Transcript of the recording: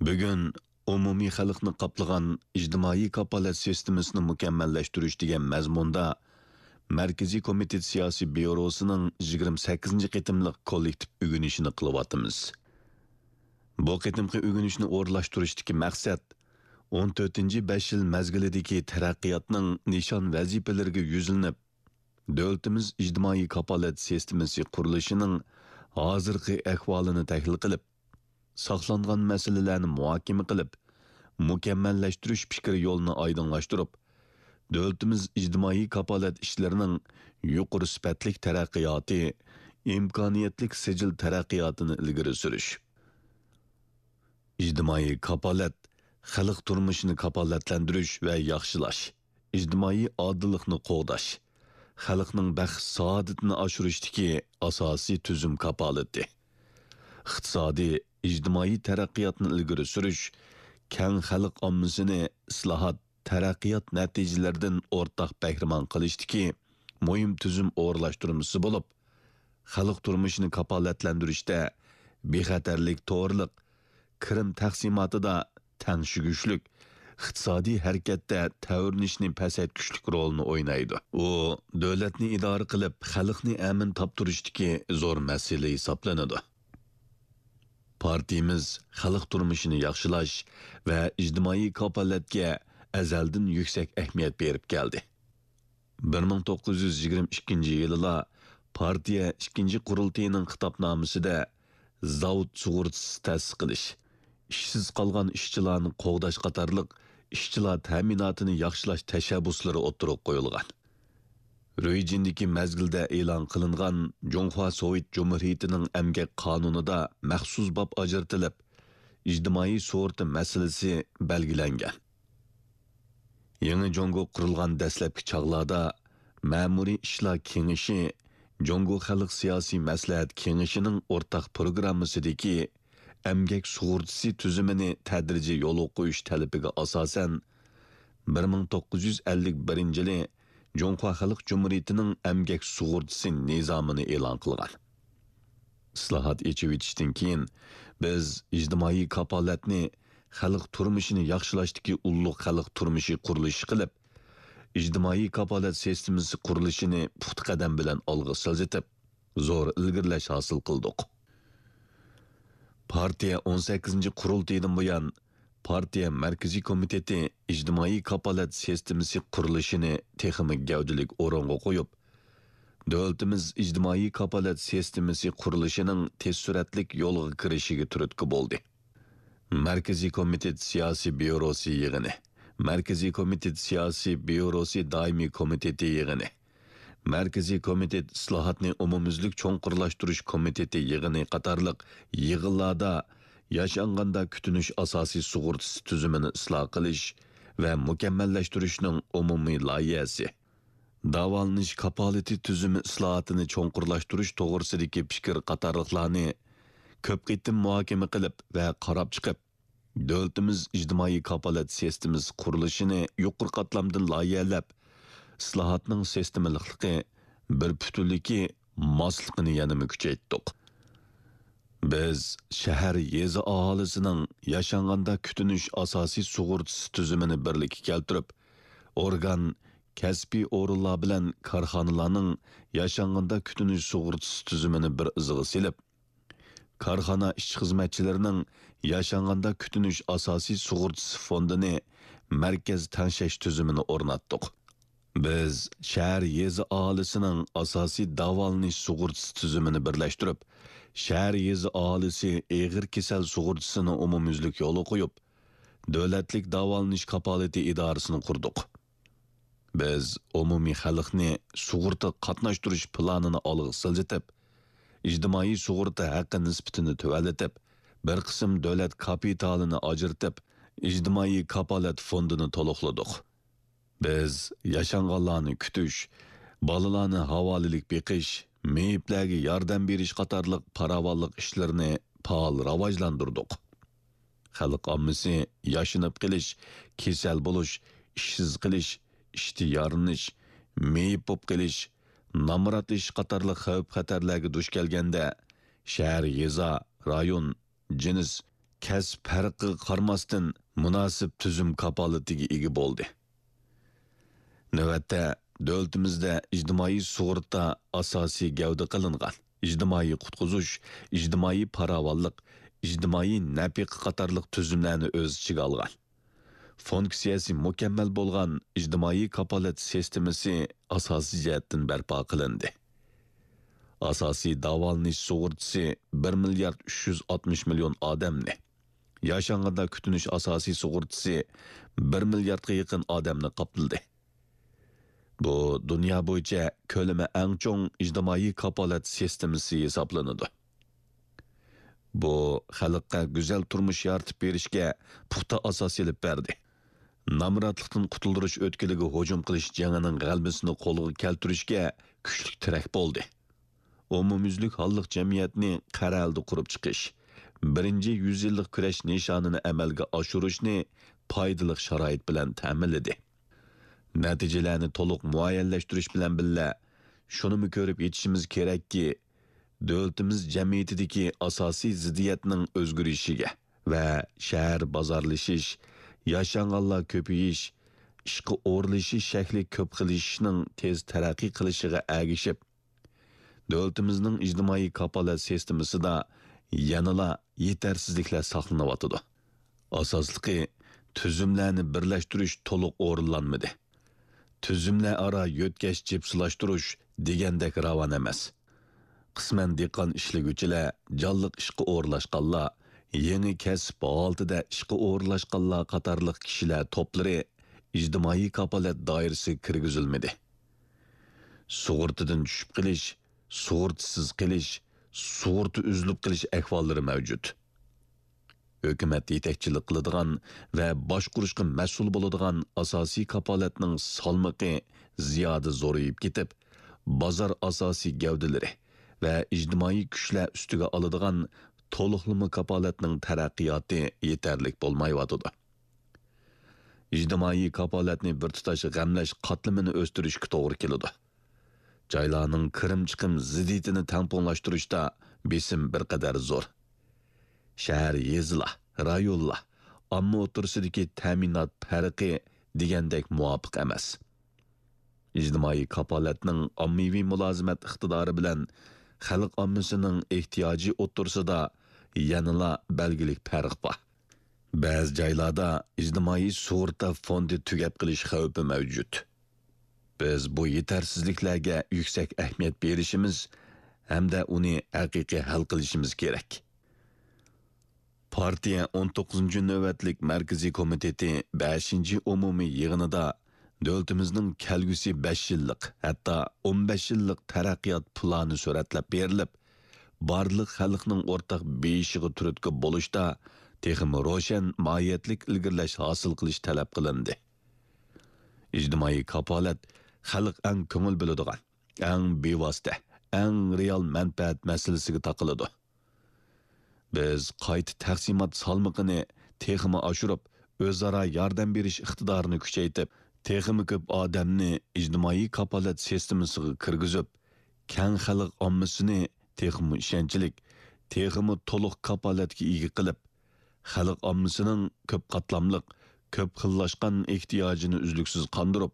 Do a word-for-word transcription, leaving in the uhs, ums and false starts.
بۈگۈن ئومۇمىي خەلقنى قاپلىغان ئىجتىمائىي كاپالەت سىستېمىسىنى مۇكەممەللەشتۈرۈش دېگەن مەزمۇندا مەركىزىي كومىتېت سىياسىي بيۇروسىنىڭ يىگىرمە سەككىزىنچى قېتىملىق كوللېكتىپ ئۆگىنىشىنى قىلىۋاتىمىز. بۇ قېتىمقى ئۆگىنىشنى ئورۇنلاشتۇرۇشتىكى مەقسەت، ئون تۆتىنچى بەش يىل مەزگىلىدىكى تەرەققىياتنىڭ نىشان ۋەزىپىلىرىگە يۈزلىنىپ، دۆلىتىمىز ئىجتىمائىي كاپالەت سىستېمىسى قۇرۇلۇشىنىڭ ھازىرقى ئەھۋالىنى تەھلىل قىلىپ، ساقلانغان مەسىلىلەرنى مۇھاكىمە قىلىپ، مۇكەممەللەشتۈرۈش پىكىر يولىنى ئايدىڭلاشتۇرۇپ، دۆلىتىمىز ئىجتىمائىي كاپالەت ئىشلىرىنىڭ يۇقىرى سۈپەتلىك تەرەققىياتى، ئىمكانىيەتلىك سىجىل تەرەققىياتىنى ئىلگىرى سۈرۈش. ئىجتىمائىي كاپالەت، خەلق تۇرمۇشىنى كاپالەتلەندۈرۈش ۋە ياخشىلاش، ئىجتىمائىي ئادىللىقنى قوغداش، خەلقنىڭ بەخت-سائادىتىنى ئاشۇرۇشتىكى ئاساسىي تۈزۈم كاپالىتى. ئىقتىسادىي، ئىجتىمائىي تەرەققىياتنى ئىلگىرى سۈرۈش، كەڭ خەلق ئاممىسىنى ئىسلاھات، تەرەققىيات نەتىجىلىرىدىن ئورتاق بەھرىمەن قىلىشتىكى مۇھىم تۈزۈم ئورۇنلاشتۇرمىسى بولۇپ، خەلق تۇرمۇشىنى كاپالەتلەندۈرۈشتە بىخەتەرلىك توغرىلىق، كىرىم تەقسىماتىدا تەڭشىگۈچلۈك، ئىقتىسادىي ھەرىكەتتە تەۋرىنىشنى پەسەيتكۈچلۈك رولنى ئوينايدۇ. ئۇ دۆلەتنى ئىدارە قىلىپ، خەلقنى ئەمىن تاپتۇرۇشتىكى زور مەسىلە ھېسابلىنىدۇ. پارتىيىمىز خەلق تۇرمۇشىنى ياخشىلاش ۋە ئىجتىمائىي كاپالەتكە ئەزەلدىن يۈكسەك ئەھمىيەت بېرىپ كەلدى. بىر مىڭ توققۇز يۈز يىگىرمە ئىككىنچى يىلىلا پارتىيە ئىككىنچى قۇرۇلتىيىنىڭ خىتابنامىسىدە زاۋۇت سۇغۇرتىسى تەسىس قىلىش، ئىشسىز قالغان ئىشچىلارنى قوغداش قاتارلىق ئىشچىلار تەمىناتىنى ياخشىلاش تەشەببۇسلىرى ئوتتۇرىغا قويۇلغان. رۇيجىندىكى مەزگىلدە ئېلان قىلىنغان جۇڭخۇا سوۋېت جۇمھۇرىيىتىنىڭ ئەمگەك قانۇنىدا مەخسۇس باب ئاجرىتىلىپ، ئىجتىمائىي سۇغۇرتا مەسىلىسى بەلگىلەنگەن. يېڭى جۇڭگو قۇرۇلغان دەسلەپكى چاغلاردا مەمۇرىي ئىشلار كېڭىشى جۇڭگو خەلق سىياسىي مەسلىھەت كېڭىشىنىڭ ئورتاق پروگراممىسىدىكى ئەمگەك سۇغۇرتىسى تۈزۈمىنى تەدرىجىي يولغا قويۇش تەلىپىگە ئاساسەن، بىر مىڭ توققۇز يۈز ئەللىك بىرىنچى يىلى جۇڭخۇا خەلق جۇمھۇرىيىتىنىڭ ئەمگەك سۇغۇرتىسى نىزامىنى ئېلان قىلغان. ئىسلاھات، ئېچىۋېتىشتىن كېيىن، بىز ئىجتىمائىي كاپالەتنى خەلق تۇرمۇشىنى ياخشىلاشتىكى ئۇللۇق خەلق تۇرمۇشى قۇرۇلۇشى قىلىپ، ئىجتىمائىي كاپالەت سىستېمىسى قۇرۇلۇشىنى پۇختا قەدەم بىلەن ئالغا سىلجىتىپ، زور ئىلگىرىلەش ھاسىل قىلدۇق. پارتىيە ئون سەككىزىنچى قۇرۇلتىيىدىن بۇيان، پارتىيە مەركىزىي كومىتېتى ئىجتىمائىي كاپالەت سىستېمىسى قۇرۇلۇشىنى تېخىمۇ گەۋدىلىك ئورۇنغا قويۇپ، دۆلىتىمىز ئىجتىمائىي كاپالەت سىستېمىسى قۇرۇلۇشىنىڭ تېز سۈرئەتلىك يولغا كىرىشىگە تۈرتكە بولدى. مەركىزىي كومىتېت سىياسىي بيۇروسى يىغىنى، مەركىزىي كومىتېت سىياسىي بيۇروسى دائىمىي كومىتېتى يىغىنى، مەركىزىي كومىتېت ئىسلاھاتنى ئومۇميۈزلۈك چوڭقۇرلاشتۇرۇش كومىتېتى يىغىنى قاتارلىق يىغىنلاردا ياشانغاندا كۈتۈنۈش ئاساسىي سۇغۇرتىسى تۈزۈمىنى ئىسلاھ قىلىش ۋە مۇكەممەللەشتۈرۈشنىڭ ئومۇمىي لايىھەسى، داۋالىنىش كاپالىتى تۈزۈمى ئىسلاھاتىنى چوڭقۇرلاشتۇرۇش توغرىسىدىكى پىكىر قاتارلىقلارنى كۆپ قېتىم مۇھاكىمە قىلىپ ۋە قاراپ چىقىپ، دۆلىتىمىز ئىجتىمائىي كاپالەت سىستېمىسى قۇرۇلۇشىنى يۇقىرى قاتلامدىن لايىھەلەپ، ئىسلاھاتنىڭ سىستېمىلىقلىقى، بىر پۈتۈنلۈكى، ماسلىقىنى يەنىمۇ كۈچەيتتۇق. بىز شەھەر، يېزا ئاھالىسىنىڭ ياشانغاندا كۈتۈنۈش ئاساسىي سۇغۇرتىسى تۈزۈمىنى بىرلىككە كەلتۈرۈپ، ئورگان، كەسپىي ئورۇنلار بىلەن كارخانىلارنىڭ ياشانغاندا كۈتۈنۈش سۇغۇرتىسى تۈزۈمىنى بىر ئىزىغا سېلىپ، كارخانا ئىشچى-خىزمەتچىلىرىنىڭ ياشانغاندا كۈتۈنۈش ئاساسىي سۇغۇرتىسى فوندىنى مەركەز تەڭشەش تۈزۈمىنى ئورناتتۇق. بىز شەھەر، يېزا ئاھالىسىنىڭ ئاساسىي داۋالىنىش سۇغۇرتىسى تۈزۈمىنى بىرلەشتۈرۈپ، شەھەر، يېزا ئاھالىسى ئېغىر كېسەل سۇغۇرتىسىنى ئومۇميۈزلۈك يولغا قويۇپ، دۆلەتلىك داۋالىنىش كاپالىتى ئىدارىسىنى قۇردۇق. بىز ئومۇمىي خەلقنى سۇغۇرتا قاتناشتۇرۇش پىلانىنى ئالغا سىلجىتىپ، ئىجتىمائىي سۇغۇرتا ھەققى نىسبىتىنى تۆۋەنلىتىپ، بىر قىسىم دۆلەت كاپىتالىنى ئاجرىتىپ، ئىجتىمائىي كاپالەت فوندىنى تولۇقلىدۇق. بىز ياشانغانلارنى كۈتۈش، بالىلارنى ھاۋالىلىك بېقىش، مېيىپلەرگە ياردەم بېرىش قاتارلىق پاراۋانلىق ئىشلىرىنى پائال راۋاجلاندۇردۇق. خەلق ئاممىسى ياشىنىپ قېلىش، كېسەل بولۇش، ئىشسىز قېلىش، ئىشتىن يارىنىش، مېيىپ بولۇپ قېلىش، نامراتلىشىش قاتارلىق خەۋپ-خەتەرلەرگە دۇچ كەلگەندە، شەھەر، يېزا، رايون، جىنس، كەسىپ پەرقىگە قارىماستىن، مۇناسىپ تۈزۈم كاپالىتىگە ئىگە بولدى. نۆۋەتتە، دۆلىتىمىزدە ئىجتىمائىي سۇغۇرتا ئاساسىي گەۋدە قىلىنغان ئىجتىمائىي قۇتقۇزۇش، ئىجتىمائىي پاراۋانلىق، ئىجتىمائىي نەپىقە قاتارلىق تۈزۈملەرنى ئۆز ئىچىگە ئالغان، فۇنكسىيەسى مۇكەممەل بولغان ئىجتىمائىي كاپالەت سىستېمىسى ئاساسىي جەھەتتىن بەرپا قىلىندى. ئاساسىي داۋالىنىش سۇغۇرتىسى بىر مىليارد ئۈچ يۈز ئاتمىش مىليون ئادەمنى، ياشانغاندا كۈتۈنۈش ئاساسىي سۇغۇرتىسى بىر مىلياردقا يېقىن ئادەمنى قاپلىدى. بۇ دۇنيا بويىچە كۆلىمى ئەڭ چوڭ ئىجتىمائىي كاپالەت سىستېمىسى ھېسابلىنىدۇ. بۇ خەلققە گۈزەل تۇرمۇش يارىتىپ بېرىشكە پۇختا ئاساس ئېلىپ بەردى. نامراتلىقتىن قۇتۇلدۇرۇش ئۆتكىلىگە ھۇجۇم قىلىش جېڭىنىڭ غەلىبىسىنى قولغا كەلتۈرۈشكە كۈچلۈك تىرەك بولدى. ئومۇميۈزلۈك ھاللىق جەمئىيەتنى قەرەلدە قۇرۇپ چىقىش، بىرىنچى يۈز يىللىق كۈرەش نىشانىنى ئەمەلگە ئاشۇرۇشنى پايدىلىق شارائىت بىلەن تەمىنلىدى. نەتىجىلەرنى تولۇق مۇئەييەنلەشتۈرۈش بىلەن بىللە، شۇنىمۇ كۆرۈپ يېتىشىمىز كېرەككى، دۆلىتىمىز جەمئىيىتىدىكى ئاساسىي زىددىيەتنىڭ ئۆزگىرىشىگە ۋە شەھەر بازارلىشىش، ياشانغانلار كۆپىيىش، ئىشقا ئورۇنلىشىش شەكلى كۆپ خىللىشىشنىڭ تېز تەرەققىي قىلىشىغا ئەگىشىپ، دۆلىتىمىزنىڭ ئىجتىمائىي كاپالەت سىستېمىسىدا يەنىلا يېتەرسىزلىكلەر ساقلىنىۋاتىدۇ. ئاساسلىقى، تۈزۈملەرنى بىرلەشتۈرۈش تولۇق ئورۇنلانمىدى. تۈزۈملەر ئارا يۆتكەش جىپسىلاشتۇرۇش دېگەندەك راۋان ئەمەس. قىسمەن دېھقان ئىشلىگۈچىلەر، جانلىق ئىشقا ئورۇنلاشقانلار، يېڭى كەسىپ ھالىتىدە ئىشقا ئورۇنلاشقانلار قاتارلىق كىشىلەر توپلىرى ئىجتىمائىي كاپالەت دائىرىسىگە كىرگۈزۈلمىدى. سۇغۇرتىدىن چۈشۈپ قېلىش، سۇغۇرتىسىز قېلىش، سۇغۇرتا ئۈزۈلۈپ قېلىش ئەھۋاللىرى مەۋجۇت. ھۆكۈمەت يېتەكچىلىك قىلىدىغان ۋە باشقۇرۇشقا مەسئۇل بولىدىغان ئاساسىي كاپالەتنىڭ سالمىقى زىيادە زورىيىپ كېتىپ، بازار ئاساسىي گەۋدىلىرى ۋە ئىجتىمائىي كۈچلەر ئۈستىگە ئالىدىغان تولۇقلىما كاپالەتنىڭ تەرەققىياتى يېتەرلىك بولمايۋاتىدۇ. ئىجتىمائىي كاپالەتنى بىر تۇتاش غەملەش قاتلىمىنى ئۆستۈرۈشكە توغرا كېلىدۇ. جايلارنىڭ كىرىم-چىقىم زىددىيىتىنى تەڭپۇڭلاشتۇرۇشتا بېسىم بىر قەدەر زور. شەھەر، يېزىلار، رايونلار، ئامما ئوتتۇرىسىدىكى تەمىنات پەرقى دېگەندەك مۇۋاپىق ئەمەس. ئىجتىمائىي كاپالەتنىڭ ئاممىۋى مۇلازىمەت ئىقتىدارى بىلەن خەلق ئاممىسىنىڭ ئېھتىياجى ئوتتۇرىسىدا يەنىلا بەلگىلىك پەرق بار. بەزى جايلاردا ئىجتىمائىي سۇغۇرتا فوندى تۈگەپ قېلىش خەۋپى مەۋجۇت. بىز بۇ يېتەرسىزلىكلەرگە يۈكسەك ئەھمىيەت بېرىشىمىز ھەمدە ئۇنى ھەقىقىي ھەل قىلىشىمىز كېرەك. پارتىيە ئون توققۇزىنچى نۆۋەتلىك مەركىزىي كومىتېتى بەشىنچى ئومۇمىي يىغىنىدا دۆلىتىمىزنىڭ كەلگۈسى بەش يىللىق، ھەتتا ئون بەش يىللىق تەرەققىيات پىلانى سۈرەتلەپ بېرىلىپ، بارلىق خەلقنىڭ ئورتاق بېيىشىغا تۈرتكە بولۇشتا تېخىمۇ روشەن ماھىيەتلىك ئىلگىرىلەش ھاسىل قىلىش تەلەپ قىلىندى. ئىجتىمائىي كاپالەت خەلق ئەڭ كۆڭۈل بۆلىدىغان، ئەڭ بىۋاسىتە، ئەڭ رېئال مەنپەئەت مەسىلىسىگە تاقىلىدۇ. بىز قايتا تەقسىمات سالمىقىنى تېخىمۇ ئاشۇرۇپ، ئۆزئارا ياردەم بېرىش ئىقتىدارىنى كۈچەيتىپ، تېخىمۇ كۆپ ئادەمنى ئىجتىمائىي كاپالەت سىستېمىسىغا كىرگۈزۈپ، كەڭ خەلق ئاممىسىنى تېخىمۇ ئىشەنچلىك، تېخىمۇ تولۇق كاپالەتكە ئىگە قىلىپ، خەلق ئاممىسىنىڭ كۆپ قاتلاملىق، كۆپ خىللاشقان ئېھتىياجىنى ئۈزلۈكسىز قاندۇرۇپ،